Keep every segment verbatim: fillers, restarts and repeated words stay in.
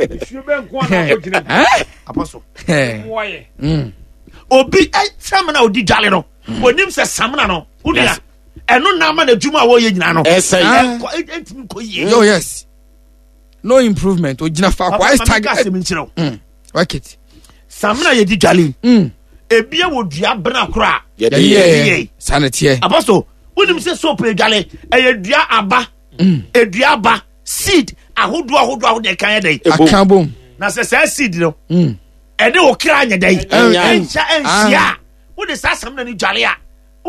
Nsuo bɛ nko ana akɔgyina mu. Apostle. Mmoa yɛ. Mm. Obi samina a odi dwale no, onim sɛ samina no, wonua, ɛno na ama n'adwuma a wɔyɛ nyinaa no. Ɛsɛe. Ɛnkɔ, ɛntumi nkɔ yie. Oh yes. No improvement. Ogyina faako. Papa, Ayɛ ma stag. menka asɛm nkyerɛ wo. Mm. Work it. Samina yɛdi dwale yi, Mm. ebia wɔ dua bena koro a Yɛde Yɛyɛ. yɛ. yɛ. Saa na teɛ. Apostle, wonim sɛ soap edwale ɛyɛ dua aba, edua aba, seed ahodoɔ ahodoɔ ahodoɔ ɛka yɛ dɛ. Ebom. Aka bom. Na sɛ saa seed no, Mm. ɛne wo kra nyɛ dɛ. Ɛnya. Ɛnhyɛ ɛnhyia a, wode saa samina no dwale a,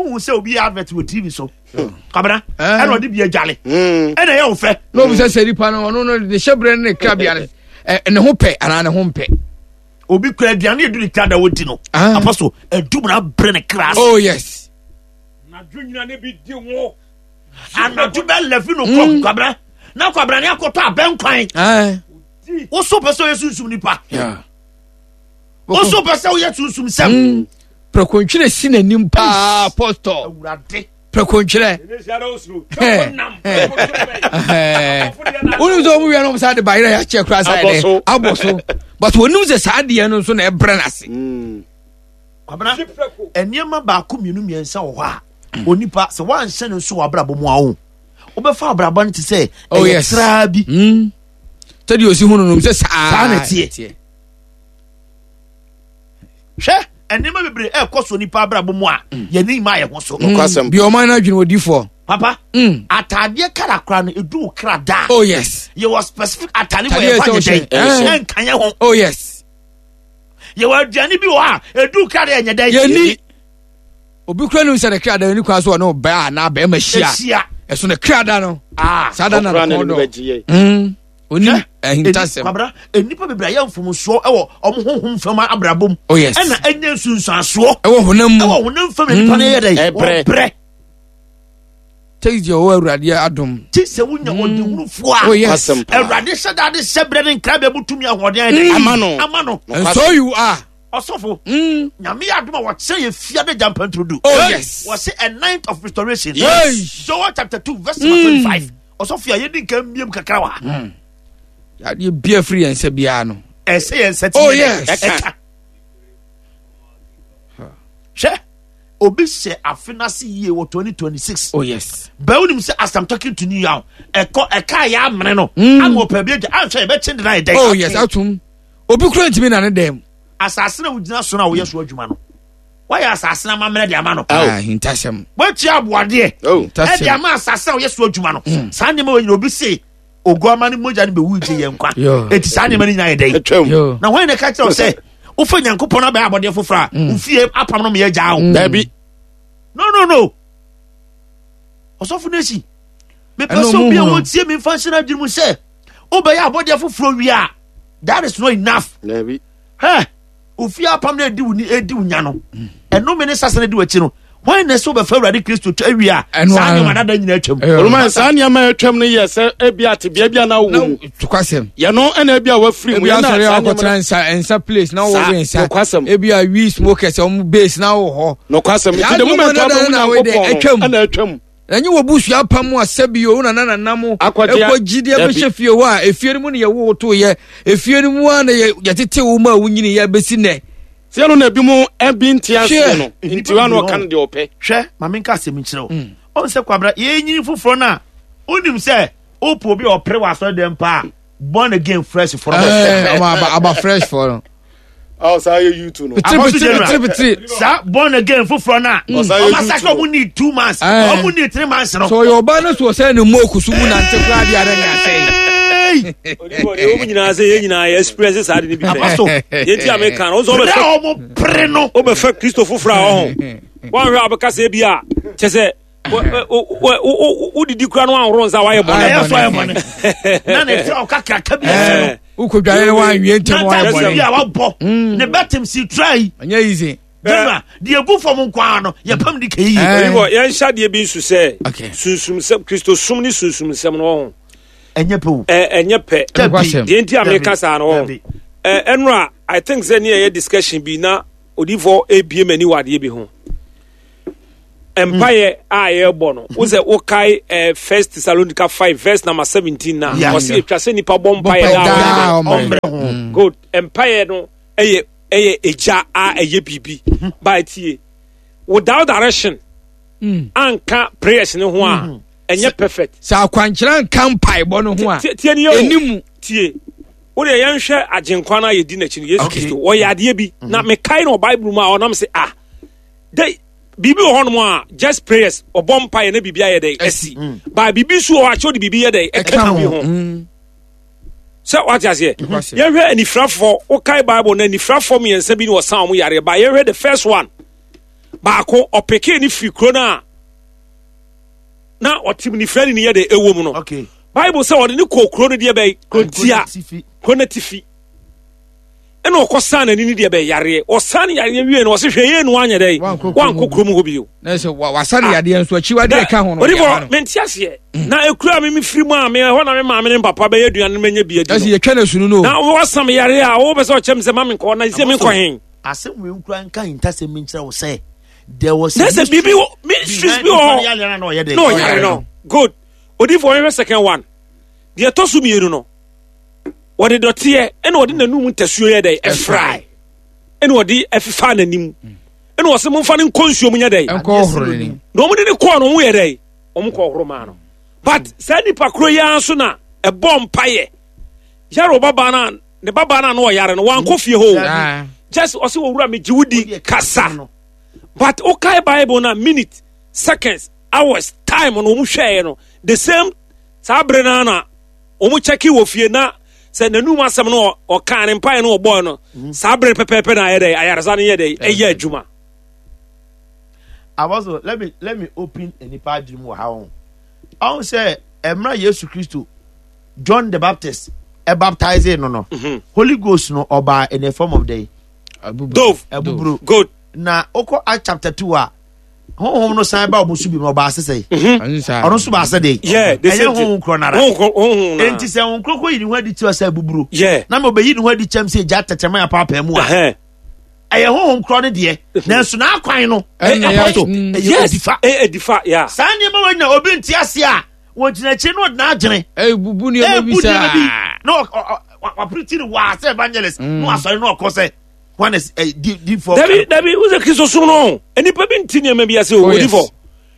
wohu sɛ obi yɛ advert wɔ T V so. Kwabena, Eh. ɛna ɔde bi adwale. Mm. Ɛna ɛyɛ wo fɛ. Na obi sɛ sɛ nipa no ɔno no ne hyɛbrɛ ne ne krabea no ɛ ne ho pɛ anaa ne ho mpɛ. Obi kura aduane edu ne kra da wodi no. Ah. Apostle, adum na abrɛ ne kra ase. Oh yes. Anadwo nyina ne bi di wo. Anadwo bɛ eleven o'clock kwabena. Na kwabena ne akɔtɔ abɛnkwan. Ah. Wo so pɛ sɛ woyɛ sunsum nipa. Yeah. Wo so pɛ sɛ woyɛ sunsum sɛm. Mm. Prɛkontwerɛ si n'anim paa apostol. Awurade. Prɛkontwerɛ. Ɛnɛ si ara osuro. Twɛfo nam. Ɛhɛn. Wonim sɛ ɔmo wia no ɔmo saa de bayerɛ yɛ akyɛ koraa saa Abɔ yɛ so. dɛ abɔ so. But wɔnim sɛ saa adeɛ no nso na ɛbrɛ n'ase. Mm. Kwabena, nneɛma baako mmienu mmiɛnsa wɔ hɔ a onipa sɛ woanhyɛ no nso wɔ abrabɔ mu a wo wobɛfa abrabɔ no te sɛ Oh, ɛyɛ yes. traa bi. Mm. Sɛdeɛ osi hu no nom sɛ saa Saa na ɛteɛ. Hwɛ, nneɛma bebree ɛrekɔ so nipa abrabɔ mu a yɛne mma yɛ ho so. Nokwasɛm. Bi ɔman no adwene odifoɔ. Papa, Mm. ataadeɛ kara kora no edu wo kra da. Oh yes. Yɛwɔ specific ataade wɔ Atadeɛ yɛfa ɛsɛ nyɛ ɔhyɛ. dɛn Ɛhyɛ. ɛnka yɛ ho. Oh yes. Yɛwɔ aduane bi wɔ hɔ a edu kra da yɛnyɛ dɛn. Yɛni obi kura nim sɛ ne kra da no ni kwan so ɔne ɔbaa anaa bɛrima hyia. Ehyia. Ɛso ne kra da no. Ah. Saa da na Ɔkora ne ne kɔn ne dɔ. bɛgye yɛ. Mm. Onim Hwɛ, ahintasɛm. Kwabra, nnipa bebree ayɛ mfomsoɔ ɛwɔ ɔmo honhom fam abrabɔ mu. Oh yes. Ɛna ɛnyɛ nsunsuansoɔ. Ɛwɔ honam mu. Ɛwɔ honam fam na nipa no yɛ dɛn? Ɛbrɛ. Wɔbrɛ. Take deɛ ɔwɔ Awurade adom. Ti sɛ wonya ɔdehunufoɔ a. Oh yes. Nokwasɛm paa. Awurade hyɛ da de hyɛ brɛ ne nkrabea mu tumi ahoɔden ayɛ dɛn? Ama no. Ama no. And so you are. Ɔsɔfo, Mm. Nyame yɛ adom a wɔkyerɛ yɛ fia de gya mpanturudu. Oh yes. Wɔse a ninth of restoration. Yes. Joel chapter two verse number twenty-five. Ɔsɔfo a yɛdi nka mbiem kakra wɔ ha. Yadeɛ bia firi yɛn nsa biara no. Ɛsɛ yɛn nsa ti Oh, yɛ dɛn? yes. Ɛka. Hwɛ, obi hyɛ afe n'ase yie wɔ twenty twenty-six. Oh yes. Bɛn wonim sɛ as I'm talking to you now, ɛkɔ ɛka yɛ amene no. Ama ɔpɛ bi agya anhwɛ yɛbɛkye de na ayɛ dɛn. Oh yes. Atum. Obi kura ntumi na ne dɛm. Asase na wogyina so na woyɛ so adwuma no. Wɔyɛ asase na amammerɛ de ama no. Ah, ahintasɛm. Wɔatua aboadeɛ. Oh. Ɛde ama asase a wɔyɛ so adwuma no. Saa nneɛma wɔ nyina obi se oguama ne mogya no bɛwu gye yɛn nkwa. Yo. Eti saa nneɛma no nyinaa yɛ dɛn? Atwam. Yo. Na wɔn na ɛka kyerɛ wo sɛ wofa Nyankopɔn abɛyɛ abɔdeɛ foforɔ a wofie apam no meyɛ gyaa wo. Dabi. No no no. Ɔsɔfo no akyi. Mepɛ Ɛna sɛ ɔmo obi a hu no. wɔtie me mfa nhyɛ no adwene mu sɛ wobɛyɛ abɔdeɛ foforɔ wie a that is not enough. Dabi. Hɛ, ofie apam no edi wo ni edi wo nya no. Ɛnome ne sase no di w'akyi no. Wɔn na ɛsɛ wobɛfa Awurade Kristo twa awie a Ɛno saa ara. nneɛma dada nyinaa atwam. Ɛyɛ. Oluma saa nneɛma a atwam no yɛ sɛ ebi atebea bi a na wɔ Na mu. tukwasɛm. Yɛno ɛna ebi a wafiri mu. Ebi Yɛn na asɔre saa a nneɛma akɔtena nsa nsa place na Saa, wɔwe nsa. nokwasɛm. Ebi a weed smokers ɔmo base na wɔ hɔ. Nokwasɛm. Saa Nti the moment nneɛma a wobɛhu dada na wɔde Nyankopɔn no atwam. ɛna atwam. Ɛnyɛ wɔ busua apam a sɛbi o na nana mo Akɔgye a- ɛkɔ gyidi Dabi. abɛhyɛ fie hɔ a efie no mu na yɛwo wo to yɛ efie no mu a na yɛ yɛtete wo mu a wonyini yɛ bɛsi nɛ. Sɛ ɛno na ebi mu ɛbi nte aseɛ Hwɛ. no. Nti wa na ɔka no deɛ ɔpɛ. Hwɛ, ma menka asɛm nkyerɛ wo. Ɔn sɛ Kwabra, yɛnyini foforɔ no a wonim sɛ wopɛ obi a ɔpere wɔ asɔre dɛm paa a born again fresh foɔ no. Ɛɛ ɔmo aba aba fresh fɔ no. Ɔ saa yɛ YouTube no. Pitiri Apostle pitiri General. pitiri pitiri. Saa born again foforɔ no a Ɔsan yɛ ɔma saka YouTube. ɔmo need two months, Ɛɛ. ɔmo need three months no. Sɛ ɔyɛ ɔbaa no so ɔsɛ ne mu okusu mu nante koraa deɛ ara ne asɛe. Hey! Odifoɔ deɛ wɔn nyinaa sɛ yɛn nyinaa yɛ experience saa de ne bi pɛ. Apostle. Yɛn ti a meka no, wo nso Pere wobɛfɛ a ɔmo pere no. wobɛfɛ Kristo foforɔ a ɔho. Wɔnhwɛ a wobɛka sɛ bi a kyɛ sɛ wodidi kura no anhoro nsa wayɛ bɔne. Ɛyɛ so ayɛ bɔne. Na ne tiri ɔka kraka bi ahyɛ no. Wokɔdware no wanwie ntɛm Na wayɛ taxi bɔne. bi a wabɔ. Ne bɛtem si tra yi. Ɛnyɛ easy. General, deɛ egu fam nkoa no, yɛpam de kɛyi. Eh. Odifoɔ yɛnhyɛ adeɛ bi nso sɛ Okay. sunsum sɛm Kristo som ne sunsum nsɛm no ɔho. Ɛnyɛ pɛ o. Ɛ ɛnyɛ pɛ. Nokwasɛm. Deɛ nti a meka saa no ɔho. Dabi. Ɛ ɛnora I think sɛ ne yɛyɛ discussion bi na odifoɔ ebie m'ani wɔ adeɛ bi ho. Mpaeɛ a yɛrebɔ no, wo sɛ wokae eh, First Thessalonica five verse number seventeen na Yeah. ɔse etwa sɛ nipa bɔ mpaeɛ Bɔ daa daa ɔmmerɛ. ɔmmerɛ. Ɔmmerɛ ho. Good. Mpaeɛ no ɛyɛ ɛyɛ egya a ɛyɛ biribi. Ba tie. Without direction, anka prayers ne ho a ɛnyɛ perfect. Sɛ akwankyerɛ nka mpaebɔ no ho a Tie tie ni yɛ o. ɛnimu. Tie. Wo deɛ yɛnhwɛ agyenkwa no a yɛdi n'akyi no, Yesu Okay. Kristo. Ɔyɛ adeɛ bi. Na mekae no wɔ Bible mu a ɔnam sɛ ah de biribi wɔ hɔnom a just prayers ɔbɔ mpaeɛ na biribi ayɛ dɛ asi. Ba biribi nso wɔ hɔ a kyɛw de biribi yɛ dɛ ɛka Ɛka biribi ho. ho. Mm. Sɛ wate aseɛ. Nokwasɛm. Yɛhwɛ anifirafoɔ, wokae Bible na anifirafoɔ mmiɛnsa bi ne wɔsan wɔn yareɛ. Ba yɛhwɛ the first one. Baako ɔpekee ne firi kuro no a na ɔte nifirani ne yɛ dɛ ɛwɔ mu no. Okay. Bible sɛ ɔde ne kɔɔ kuro no deɛ bɛyɛ kuro ntia. Tifi. Kuro no atifi. Ɛna ɔkɔsan n'ani ne deɛ bɛyɛ yareɛ. Ɔsan yareɛ wie no ɔse hwɛ yie no wanyɛ dɛ. Wankɔ kurom Wankɔ kurom hɔ bio. Na sɛ wa- wasa ne yadeɛ nso akyiwadeɛ ɛka ho no Onipa ɔde ama no. mente aseɛ. Na ekura me mefiri mu a me ɛhɔ na me maame ne me papa bɛyɛ aduane no mɛnya bi adi Ɛsɛ no. yɛtwa no sunu no o. Na wɔsam yare a wopɛ sɛ ɔkyɛm sɛ ma menkɔ na sɛ menkɔ hen. Asɛm wei nkura nka ntasɛm mi nkyerɛ wo sɛ there was Na sɛ biribi wɔ ministries bi wɔ hɔ na ɔyɛ dɛ. na ɔyare no. Good. Odiyifoɔ yɛhwɛ second one. Deɛ ɛtɔ so mmienu no, wɔde dɔteɛ ɛna ɔde n'anum ntasuo yɛ dɛ ɛfrae ɛna ɔde ɛfefa n'anim ɛna ɔsɛ momfa no nkɔ nsuo mu nyɛ dɛ Ɛnkɔ ɔhoro n'anim. na wɔn de ne kɔɔ no wɔn yɛ dɛ wɔn kɔ ɔhoro maa no but saa nipa koro yi ara nso na ɛbɔ mpaeɛ yare ɔbabaa no a ne babaa no a na ɔyare no wankɔ fie hɔ o Ah. just ɔsɛ owura mi gye wo di kasa but wokae Bible na minute, seconds, hours, time no wɔn hwɛɛ no the same saa bere no na wɔn kyɛke wɔ fie na sɛ n'anum asɛm no ɔkaa ne mpaeɛ no ɔbɔɔ no saa bere pɛpɛɛpɛ na ayɛ dɛ ayaresa no yɛ dɛ ɛyɛ adwuma. Apostle, let me let me open nipa adwene mu wɔ ha ho. Ɔn sɛ ɛmra Yesu Kristo John the Baptist ɛ baptize no no. Holy Ghost no ɔbaa in the form of the Dove. Abuburo. Good. Na okɔ Act chapter two a honhom no san ba ɔmo so bi mu ɔbaa sesɛ. Ɔno nso baa sɛ de. Yeah, the Ɛyɛ same thing. honhom korɔ nara. Honhom honhom na. Enti sɛ honhom korɔ yi ne ho adi kyerɛ sɛ abuburo. Yeah. Na ma ɔbɛyi ne ho adi kyɛm sɛ egya tɛtɛma yɛ apaapaa mu a. Ɛhɛn. Ɛyɛ honhom korɔ no deɛ. Nanso n'akwan no. Ɛna yɛ- Apostle, mm. ɛyɛ Yes. odifa. Ɛyɛ edifa yeah. Saa nneɛma wɔ nyina obi nte ase a wɔgyina akyire na ɔde n'adwene Ɛbubu nneɛma bi ɛbu nneɛma bi saa. na ɔ- ɔ- ɔ- wapirikyi no waa sɛ evangelist na wasɔre na ɔkɔ sɛ one is eh, di di fɔ. Dabi dabi wosɛ Kristo som no nipa bi nti nneɛma bi ase o Oh, yes. odifo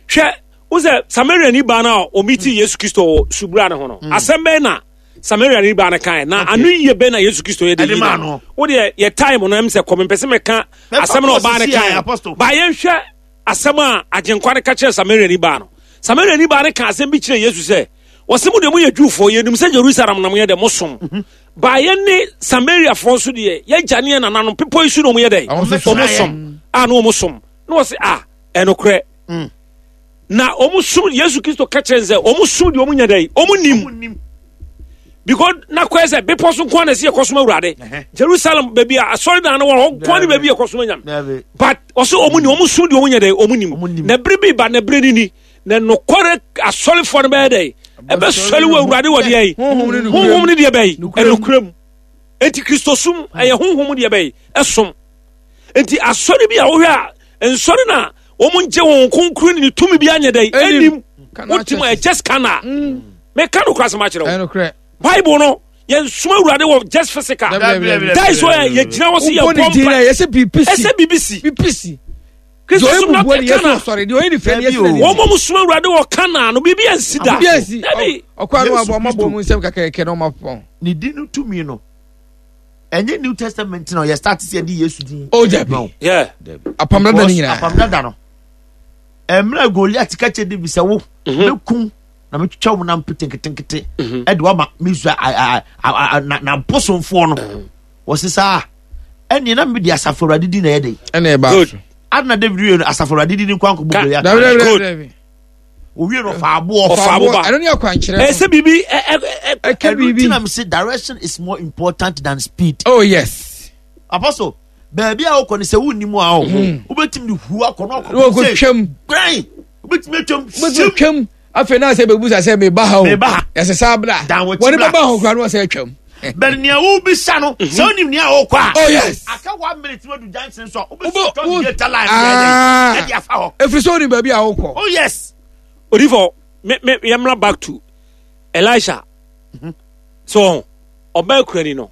hwɛ wosɛ Samaria ni baa no a ɔmiti Yesu Kristo wɔ subura ne ho no asɛm bɛn na Samaria ni baa no kan na ano yie bɛn na Yesu Kristo yɛ de Ɛde yi maa no no. wodeɛ yɛ time no ɛm sɛ kɔmi mpɛ sɛ mɛka Mɛfa asɛm na kɔ ɔbaa no sisi a, kan Apostle. ba yɛnhwɛ asɛm a agyenkwa no ka kyerɛ Samaria ni baa no. Samaria ni baa no ka asɛm bi kyerɛ Yesu sɛ wɔsɛ mo deɛ moyɛ Jewfoɔ yɛnim sɛ Jerusalem na moyɛ dɛ mosom ba yɛn ne Samariafoɔ nso deɛ yɛgya ne yɛ nananom bepɔ yi so na ɔmo yɛ dɛ Ɔmo nso som. ɔmo som a na ɔmo som na wɔsɛ a ɛnokorɛ na ɔmo som Yesu Kristo ka kyerɛ n sɛ ɔmo som deɛ ɔmo nya dɛ ɔmo nim because na kɔɛ sɛ bepɔ so nko na ɛsɛ yɛkɔsom Awurade Ɛhɛ. Jerusalem baabi a asɔredan no wɔ hɔ nko ne baabi yɛkɔsom anyam Dabi. but ɔsɛ ɔmo ni ɔmo som deɛ ɔmo nya dɛ ɔmo Ɔmo nim nim. na bere bi ba na bere ni ni na nokware asɔrefoɔ no bɛyɛ dɛ ɛbɛsɔre wɔ Awurade wɔ deɛ yi Honhom ne nokorɛ mu. honhom ne deɛ bɛyi Nokorɛ mu. ɛnokorɛ mu enti Kristosom ɛyɛ honhom deɛ bɛyi ɛsom enti asɔre bi a wohwɛ a nsɔre na wɔn ngye wɔn kronkron ne ne tumi bi anyɛ dɛ Ɛnim. ɛnim Kana wotim a churches. just kana meka no kora asɛm akyerɛ wo Ɛnokorɛ. Bible no yɛnsoma Awurade wɔ just physical. Dabi, dabi, dabi. That is why yɛgyina hɔ sɛ Wobɔ yɛbɔ ne din mpa a yɛsɛ biribi si. ɛsɛ biribi si. Biribi si. Kristo Deɛ som ɔyɛ na bubuo ne yɛsɛ kana. ɔsɔre. Deɛ ɔyɛ ne fɛ ne Dabi yɛsɛ o. n'ani. Wɔn mo soma Awurade wɔ kana no biribi ansi da. Biribi ansi. Dabi. Ɔ- Ɔkɔ ano Yesu abɔ ɔmo abɔ Kristo. ɔmo nsɛm kakɛkɛ na ɔmo apɔn. Ne din no tumi no ɛnyɛ New Testament na ɔyɛ start sɛ yɛde Yesu din. Oh, dabi. No. Yeah. Apam dada ne Because nyinaa. apam dada no ɛmmerɛ Goliath ka kyerɛ David sɛ wo mɛkum na metwitwa wo nam pete nketenkete ɛde wama Misraim a- a- a- a- na na bosomfoɔ no wɔse saa ɛneɛ na mede asafo Awurade din na ɛyɛ den Ɛna ɛbaa Good. so. Adena David wie no asafo Awurade din nkwa nkɔbɔ Ka- Goliath. Dabi dabi dabi Good. dabi. Owie no ɔfa aboɔ. Ɔfa aboɔ ba. Ɛno ne akwankyerɛ no. Ɛsɛ biribi ɛ ɛ ɛ Ɛka Ɛno nti biribi. na mese direction is more important than speed. Oh yes. Apostle, baabi a wokɔ no sɛ wonni mu a wo wobɛtumi de hu akɔ na Na wɔkɔ twam. Gbɛn! Wobɛtumi atwam. Wobɛtumi twam. Afei na sɛ bɛbusa sɛ meba ha o. Meba ha. Yɛsɛ saa bra. Dan w'akyi Wɔne bra. bɛba ho koraa na wɔsɛ atwam. Bɛn nea wobisa no sɛ wonim nea wokɔ a Oh yes. aka Aka one minute no du junction so a Wobɛ- wobɛsi wo- tɔ gate line Ah. ɛde afa hɔ. Ɛfiri sɛ wonim baabi a wokɔ. Oh yes. Odifo, me me yɛmmra back to Elisha. So ɔbaa kurani no,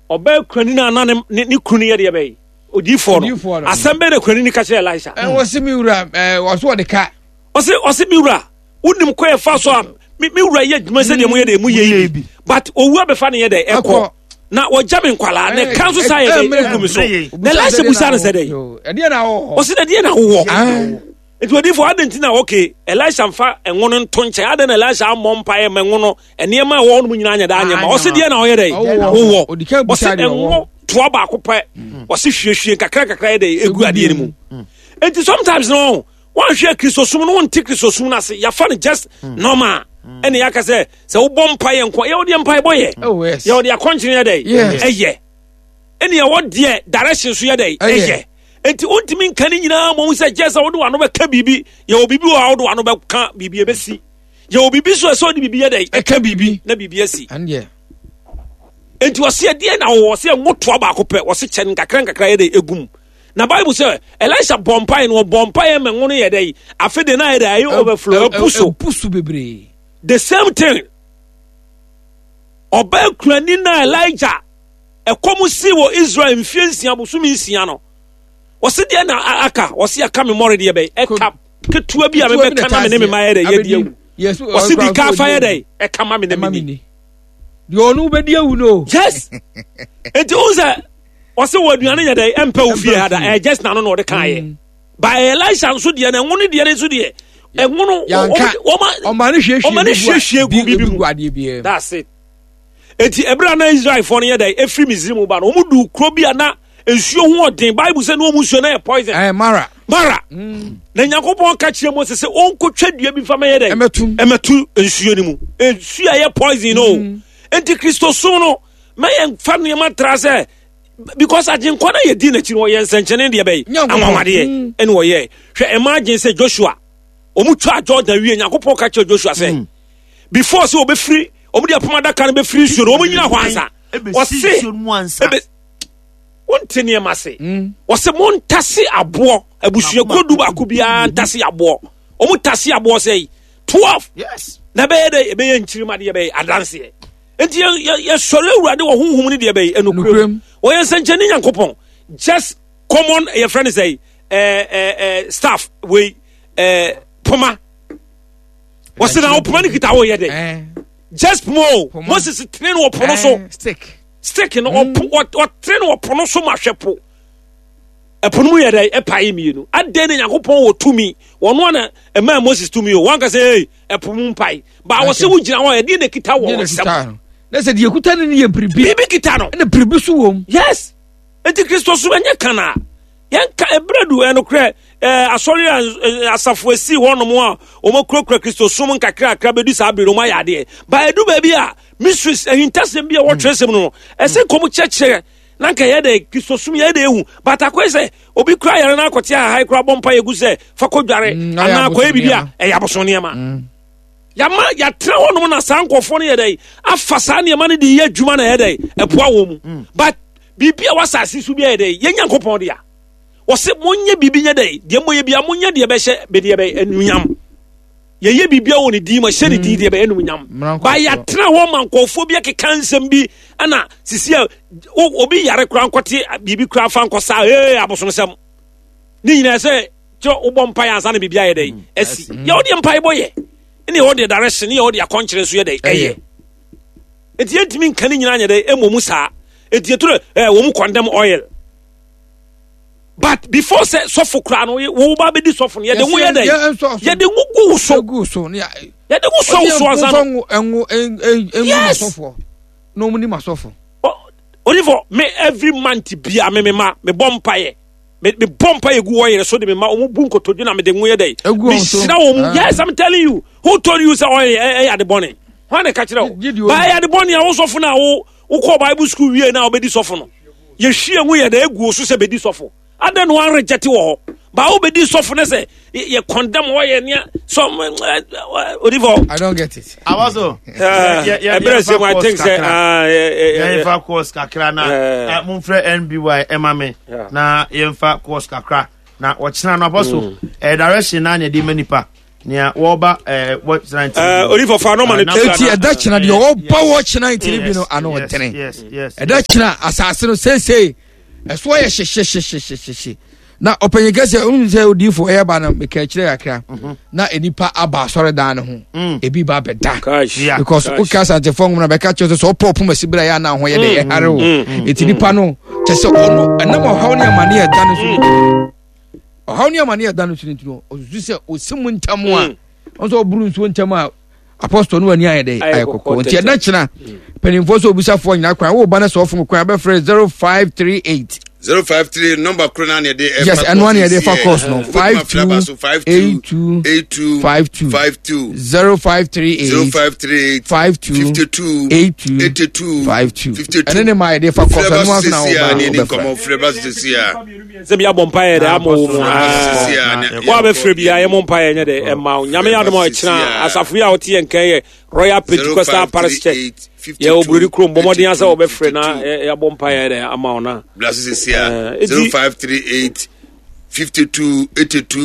ɔbaa kurani no ana ne ne ne kunu no yɛ deɛ bɛyɛ odiifoɔ Odiyifoɔ no, no. asɛm bɛyɛ na kurani no ka kyerɛ Elisha? Ɛ, wɔse me wura, ɛ, wɔso wɔde ka. ɔse ɔse me wura, wonim kɔ yɛfa so a me me wura yɛ adwuma sɛdeɛ moyɛ deɛ moyɛ yi bi, but owu abɛfa ne yɛ dɛ ɛkɔ Ɛkɔ. na wɔgya me nkwalaa na ɛka nso saa yɛ Ɛ, dɛ mmerɛ- ɛgu me so. mmerɛ Na Elisha busa no sɛ dɛ Yo, ɛdeɛ na wowɔ hɔ? Ɔse dɛ deɛ na wowɔ? Ah. Nti odiifo, adɛn nti na okay, Elisha mfa ɛnwo no nto nkyɛn? Adɛn na Elisha ammɔ mpaeɛ ma ɛnwo no nneɛma a ɛwɔ hɔ nom nyinaa nyɛ daa nyɛ ma? Ɔse deɛ na ɔyɛ dɛ Ɔwɔ. wowɔ? Ɔdi kan busa Ɔse deɛ ɔwɔ. ɛnwo toa baako pɛ. Ɔse hwiehwie nkakra nkakra yɛ dɛ ɛgu adeɛ no mu. Nti sometimes no, wɔnhwɛ Kristosom no, wonte Kristosom no ase. Yɛafa no just normal, ɛne yɛaka sɛ sɛ wobɔ mpaeɛ nko, yɛwɔ deɛ mpaebɔ yɛ. Oh, yes. Yɛwɔ deɛ akɔnkyene yɛ dɛ Yes. ɛyɛ, ɛne yɛwɔ deɛ direction so yɛ dɛ Ɛyɛ. ɛyɛ. Nti wontumi nka ne nyinaa mmom sɛ gye sɛ wode w'ano bɛka biribi. Yɛwɔ biribi wɔ a wode w'ano bɛka biribi ɛbɛsi. Yɛwɔ biribi so ɛsɛ wode biribi yɛ dɛ ɛka biribi na biribi asi. Ɛndeɛ. Nti ɔse ɛdeɛ na wɔwɔ? Ɔse ɛnwo toa baako pɛ. Ɔse kyɛ no nkakra nkakra yɛ dɛ egum. Na Bible sɛ Elisha bɔ mpaeɛ no, ɔbɔ mpaeɛ ma ngo no yɛ dɛ afe de na yɛ dɛ ayɛ overflow, ɛbu so. Ɛbu so bebree. The same thing, ɔbaa kurani na Elijah ɛkɔm si wɔ Israel mfie nsia bosome nsia no, wɔsi deɛ na a- aka? Wɔsi aka me mmɔre deɛ bɛyɛ ɛka ketewa bi a mebɛka na me ne me ma yɛ dɛ yɛdi awu. Wɔsi di ka afa yɛ dɛ ɛka ma me na ɛma me me ni ni deɛ ɔno wobɛdi awu no. Yes, nti o sɛ wɔsi wɔ aduane yɛ dɛ ɛmpɛ wo fie ha da. Ɛyɛ just n'ano na ɔde kan yɛ ba. Elisha nso deɛ na ɛnwo ne deɛ ne nso deɛ ɛnwo no Yanka. wɔma ɔma ne hwiehwie ɔma ne hwiehwie gu bibi mu. gu adeɛ biara mu. That's it. Eti ebere a na Israelfoɔ no yɛ dɛ efiri Misrim ba no, wɔn du kuro bi a na nsuo ho ɔden. Bible sɛ ne wɔn nsuo na yɛ poison. Ɛɛ, Mara. Mara. Na Nyankopɔn ka kyerɛ Mose sɛ ɔnkɔtwa dua bi fa ma yɛ dɛ ɛmɛtum. Ɛmɛtu nsuo no mu, nsuo a ɛyɛ poison no. Enti Kristosom no, mɛyɛ fa nneɛma tra sɛ because Agyenkwa no yɛdi n'akyi no, ɔyɛ nsɛnkyɛnne deɛ bɛyɛ Nyankopɔn. anwanwadeɛ. Mm. Ɛne wɔyɛ hwɛ, imagine sɛ Joshua, ɔmu twa Jordan wie, Nyankopɔn ka kyerɛ Joshua sɛ before sɛ wɔbɛfiri, ɔmu de apam adaka no bɛfiri nsuo no, ɔmu nyina hɔ ansa. Ɛbɛsi Ɔse nsuo no mu ansa. ebe wonte nneɛma se Mm. wɔsɛ montase aboɔ, abusuakuo du baako biara ntase aboɔ. Ɔmu tase aboɔ sɛ yi twelve. Yes. Na ɛbɛyɛ dɛ ɛbɛyɛ nkyirima deɛ bɛyɛ adanseɛ. Nti yɛ- yɛ- yɛsɔre Awurade wɔ honhom no deɛ bɛyɛ ɛnokorɛm. Nokorɛm. Wɔyɛ nsɛnkyɛnne Nyankopɔn. Just common yɛfrɛ no sɛ ɛɛ ɛɛ staff wei, ɛɛ poma. Wɔsɛ na wo poma no kita woyɛ dɛ? Ɛɛ. Just poma o. Poma. Moses tene no wɔ po no so. Ɛɛ, stick. Stick no, ɔpo ɔt- ɔtene no wɔ po no so ma hwɛ po, ɛpo no mu yɛ dɛ ɛpae mmienu. Adɛn na Nyankopɔn wɔ tumi, wɔno ana ɛmaa Moses tumi o, wanka sɛ ei, ɛpo mu mpae ba wɔ sɛ wogyina hɔ, ɛdeɛ na kita wɔ Deɛ na nsɛm kuta no na sɛ deɛ kuta no no yɛ biribi. Biribi kita no. Ɛna biribi so wɔ mu. Yes, enti Kristo so ɛnyɛ kana yɛnka ɛberɛ du. Ɛnokorɛ ɛɛ asɔre a ɛ, asafo asi hɔnom a wɔmakurakura Kristo som nkakrakra bɛdu saa bere no, wɔmayɛ adeɛ ba ɛdu baabi a mysteries, ahintasɛm bi a wɔtwerɛ sɛm no no ɛsɛ nkɔm kyerɛkyerɛ na nka yɛ dɛ Kristo som yɛ dɛ ehu. But akɔyɛ sɛ obi kura yɛrɛ no akɔte ahae kura bɔ mpa yɛgu sɛ fa kɔ dware Mm, ɛyɛ anaa akɔyɛ abosom biribi a nneɛma. ɛyɛ abosom nneɛma. Yàmà yàtena hɔnom na saa nkɔfoɔ no yɛ dɛ afa saa nneɛma no de yɛ adwuma na yɛ dɛ ɛboa wɔn mu. But biribi a wasase so bi yɛ dɛ yɛn Nyankopɔn de a wɔsɛ monyɛ biribi nyɛ dɛ deɛ moyɛ bia monyɛ deɛ bɛhyɛ bɛdeɛ bɛ anunyam. Yɛyɛ biribi a wɔ ne din mu, ɛhyɛ ne din deɛ bɛyɛ anunyam. Mmara Ba nkɔfoɔ. yɛatena hɔ ma nkɔfoɔ bi akeka nsɛm bi ɛna sisi a o- obi yare koraa nkɔte biribi koraa fa nkɔsa ee abosomsɛm ne nyinaa sɛ kyɛ wobɔ mpaeɛ ansa na biribi ayɛ dɛ asi. Yɛ wode mpaebɔ yɛ ne yɛ wode direction ne yɛ wode akɔnkyerɛ nso yɛ dɛ ɛyɛ. Enti yɛntumi nka ne nyinaa nyɛ dɛ ɛmmɔ mu saa. Enti yɛtoro ɛ wɔn mu condemn oil, but before sɛ sɔfo koraa no, wo ba bɛdi sɔfo no, yɛde ngo yɛ dɛ Yɛ- yɛ- yɛde ngo gu wo so. Egu so ne yɛ- Yɛde ngo sɔ wo so ansa no. Ɔde ɛngo ɛngo ɛngu Yes. masɔfoɔ na ɔmo ni masɔfo. Onifɔ me every month bia me me ma me bɔ mpaeɛ, me me bɔ mpaeɛ gu wɔyere so de me ma ɔmo bu nkotodwe na me de ngo yɛ dɛ Egu me wɔn so. hyira wɔn mu. Ah. Yes, I'm telling you. Who told you sɛ ɔyɛ ɛyɛ ade bɔne? Hwan na ɛka kyerɛ wo? Gye- gye di Ba ɛyɛ ade bɔne a wo sɔfo no a wo wokɔ Bible school wie na wobɛdi sɔfo no, yɛhwie ngo yɛ dɛ egu wo so sɛ bɛdi sɔfo, adɛn na wɔn reject wɔ hɔ? Ba wobɛdi sɔfo no sɛ yɛ condemn wɔyɛ nea sɔ odifo. I don't get it. Awaso. Ɛberɛ sɛ mu, I think sɛ ah, eh, eh, eh, yɛmfa course kakra na Eh. eh, momfrɛ N B Y ɛma me Yeah. na yɛmfa course kakra na wɔkyena no abɔ eh, direction na ne yɛde ma nipa nea wɔba eh, wɔkyena nti Eh, odifo fa no ma no Ah, tua Eti na- ɛda kyena deɛ ɔba wɔ kyena ntini bi no ano yes, ɔdene. yes yes Ɛda kyena asase no seesei ɛso ayɛ hyehyɛhyehyɛhyehye na ɔpanyin kɛseɛ ohun sɛ odiifo ɛyɛ ba no meka akyerɛ kakra na nipa aba asɔredan no ho, Mm. ebi ba abɛda Cash. Yeah. because Cash. woka Asantefoɔ nwoma na bɛka kyerɛ sɛ sɛ ɔpɔ ɔpom asi berɛ a yɛ ana ho yɛ de ɛhare wo. Mm. Ɛti nipa no kyɛ sɛ ɔno ɛnam ɔhaw ne amane a ɛda no so, ɔhaw ne amane a ɛda no so no nti no ɔsusu sɛ ɔsi mu ntam a ɔno sɛ ɔboro nsuo ntam a apɔstɔ no wani ayɛ dɛ Ayɛ ayɛ kɔkɔɔ kɔkɔɔ. Nti tɛtɛ. ɛda kyena mpanimfoɔ sɛ obisafoɔ nyina kwan woba no sɛ ɔfom kwan bɛfrɛ zero five three eight. Zero five three number koro naa na yɛde ɛfa. Yes, ɛno ara na yɛde fa course no. Five two five two eight two eight two five two. five two. Zero five three eight zero five three eight five two fifty two eight two eighty two five two. fifty two. Ɛne ne ma yɛde fa course Frɛ ɛno ba nso na sisi a ne ni wɔba nkɔmɔ, frɛ ba sisi a. Sɛ bi abɔ mpaeɛ dɛ ama wo mu. Frɛ ba Ah. sisi a ne- Wo a bɛfrɛ biaa yɛmmɔ mpaeɛ nyɛ dɛ ɛma wo. Nyame yɛ adom a ɔkyena asafo yi a wote yɛ nkan yɛ Royal Pentecostal Parish Church, yɛwɔ Buroni kurom. Bɔ mmɔden sɛ wɔbɛfrɛ na yɛ- yɛabɔ mpaeɛ dɛ ama wo na Bla sisi a Eh, zero five three eight fifty two eighty two.